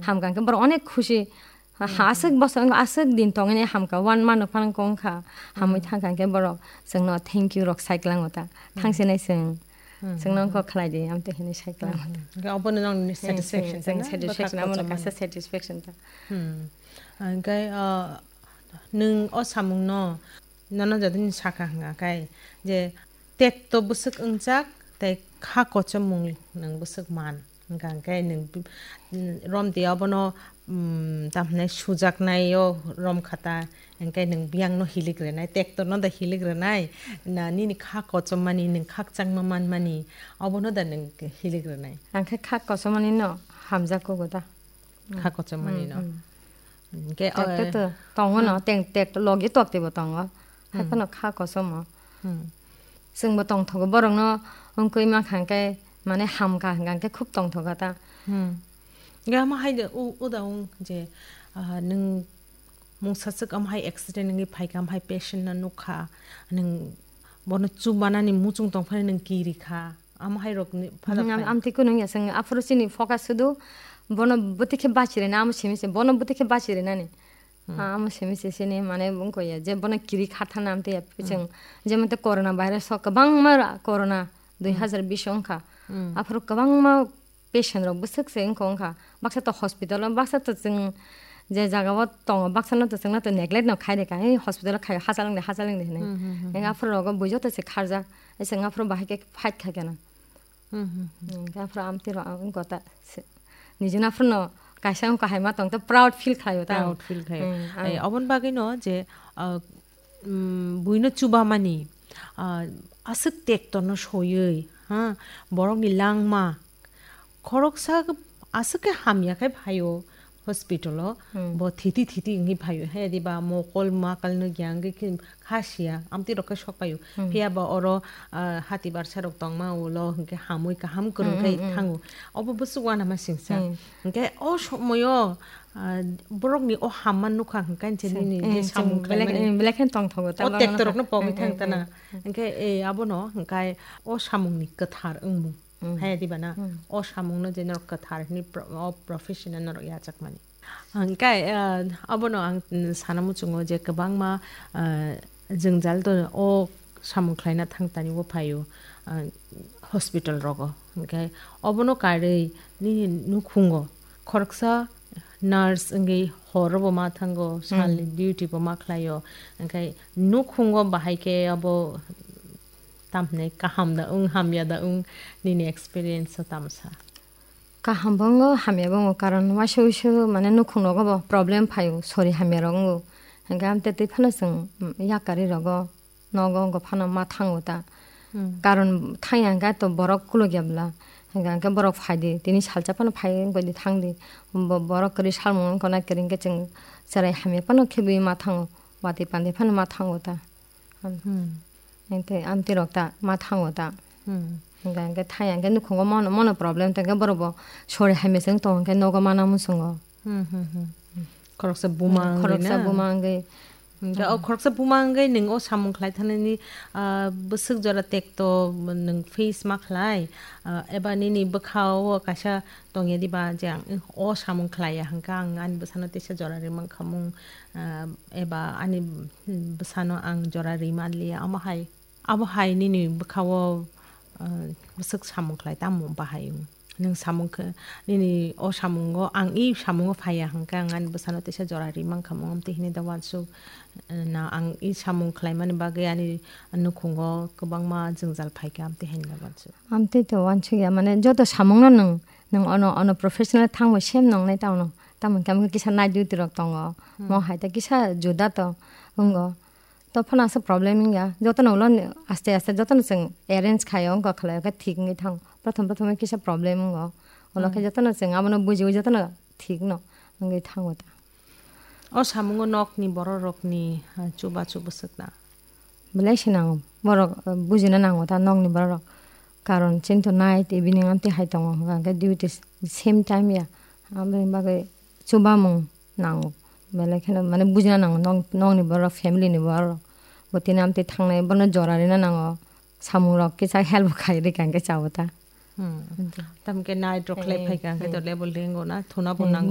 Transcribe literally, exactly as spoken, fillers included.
Hamkha hwnkhe borok onek khusi. Ha, ha, aswk bosong, aswk din tongwi hamkha, one month phano kongkha. Hamwi thangkha hwnkhe borok chwngno thank you rok sai kwlango ta. Thangsinai chwng. Chwngno wngkha khlai di, amtwi hinwi sai kwlango ta. Hwnkhe obono nokni satisfaction ta na? Satisfaction, amo kaisa satisfaction ta. Hwnkhe, ah, nwng o samungno nono jotoni sakha hwnka khe je tekto bwswk wngjak tei kha kochomung nwng bwswk man hwnka khe nwng, mm, romtwi abono, mm, tamhinai sujaknai o romkha ta, hwnkhe nwng biyangno hilik rwnai, tektorno da hilik rwnai, na nini kha kochomani, nwng khakchangma manmani, obono da nwng hilik rwnai? Ang khe kha kochomani no hamjak kugo da. Kha kochomani no. Hwnkhe, tekto to tongo no, teng tek logi tokti bo tongo. Hai phano kha kosomo. Chwngbo tongthogo borokno wngkui mankha hwnkhe, mane hamkha hwnkha hwnkhe khub tongthogo ta. Hwnkhe omo hai de, u-, uda wng je, ah, nwng mungsa swk omo hai accident wngwi phaikha, omo hai patient no nukha, nwng bono chubanani muchung tongphani nwng kirikha. Amo hai rok ni phada phai. Amtwi kunung ya, chwng aphuru chini focus sudu bono bwtwi khe bachi rwna, amo simi se bono bwtwi khe bachi rwnani. Ah, amo simi se sini mane wngkha ya, je bono kiri kha thana amtwi ya, chwng jemon te corona virus o kwbangma ra-, corona dui hazar bish wngkha. Aphuru kwbangma patient rok bwswk se wngkha wngkha. Baksa to hospital o, baksa to chwng je jaga o tongo, baksa no to chwngno to neglect no khai de ka, "Hey, hospital o khai, hachal wng de, hachal wng de," hinwi. Aphuru rogo bui joto se kharjak. Chwng aphuru bahai khe fight khai khe na. Hmm, hmm, hmm. Hmm, aphuru amtwi rok ang wngkha ta se. Nijino aphuru no kaisa wngkha hai ma tong ta proud feel khlaio ta. Proud feel khlaio. Hmm, ang. Ai, oboni bagwi no je, ah, mm, buino chubamani, ah, aswk tektorno soyui, ha, borokni langma, khoroksa aswk khe hamya khe phaio hospital o, hmm, bo thiti thiti wngwi phaio, he diba mokol makal no gya wngwi khe kha siya, amtwi rok khe sok paio. Hmm. Phiya ba oro, ah, hati barsa rok tongma ulo hwnkhe hamwi kaham kwrwng khe thango. Obo bwswk uanama singsa. Hmm. Hwnkhe o somoyo, ah, borokni o hamma nukha hwnkhe nini je samung belai khlaimani, belai khe tongthogo, o tektorokno pogwi thang tana. Hmm, hmm, hmm. Hwnkhe, eh, abono hwnkhe o samungni kwthar wngmung. Hmm. Haya diba na? Hmm. O samungno je norok kwthar hwnwi pro-, o profession-no norok yachakmani. Hwnkhe, ah, abono ang, mm, sana muchungo je kwbangma, ah, jwngjal to o samung khlaina thang tani o phaio, ah, hospital rogo. Hwnkhe obono karwi nini nukhungo khoroksa nurse wngwi horo bo ma thango, hmm, salni duty bo ma khlaio. Hwnkhe nukhungo bahai khe abo tamhinai kaham da wng, hamya da wng, nini experience o tamsa? Kaham bo wngo, hamya bo wngo, karon waisa waisa mane nukhung rogo bo problem phaio, sori hamya rok wngo. Hwnkhe amtwi twi phano chwng, mm, yakarwi rogo, nogo wngkha phano ma thango ta. Hmm. Karon thangya hwnkhe to borok kulukya bwla. Hwnkhe, hwnkhe borok phaidi, tini salsa phano phai wngkha di thangdi. Bo-, borok kwrwi salmung wngkha na kwrwi hwnkhe chwng chwrai hamya phano khebwi ma thango, watwi pandai phano ma thango ta. Hmm. Hwnkhe amtwi rok ta ma thango ta. Hmm. Hwnkhe, hwnkhe thangya hwnkhe nukhungo mono, mono problem tongkhe borok bo sori hamya se wng tongo hwnkhe nogo mana muchungo. Hmm, hmm, hmm. Khoroksa buma wngwi na? Khoroksa buma wngwi. Hwnkhe o khoroksa buma wngwi nwng o samung khlai thanani, ah, bwswk jora tekto nwng face ma khlai, ah, eba nini bwkha o kaisa tongya diba je ang o samung khlaiya hwnkhe ang ani bwsano teisa jora ri mankha mung, ah, eba ani bwsano ang jora ri manliya, omo hai? Abo hai nini bwkha-o, ah, bwswk samung khlai tamo bahai wng? Nwng samung khe, nini o samungo ang i samungo phaiya hwnkhe ang ani bwsano teisa jora ri mankha mung, amtwi hinwi da uansuk, eh, na ang i samung khlaimani bagwi ani nukhungo kwbangma jwngjal phaikha, amtwi hinwi da uansuk. Amtwi to uansukya, mane joto samungno nwng, nwng ono, ono professional thangbai same nongnai tamo no. Tamo hwnkhe kisa night duty rok tongo. Hmm. Mo hai ta kisa juda to wngo. To phano aswk problem wngya. Jotono ulo ni aste aste jotono chwng arrange khaio, wngkha khlaio, khe thik wngwi thango. Prothom prothom kisa problem wngo. Ulo khe jotono chwng abono bujiwi jotono thik no wngwi thango ta. O samungo nokni bororokni, ha, chubachu bwswkna? Belai se nango. Borok, uh, bujina nango ta nokni bororok. Karon chini to night evening amtwi hai tongo, hwnkha khe duty same time ya. Aboni bagwi chubamung nango. Belai kheno mane bujina nango, nok, nokni borok, family ni borok. Bo tini amtwi thangnai, bono jora rina nango. Samung rok kisa help khai rikha hwnkhe chao ta. Hmm. Tamo khe night rok khlai phaikha hwnkhe to level ringo na, thuna bo nango.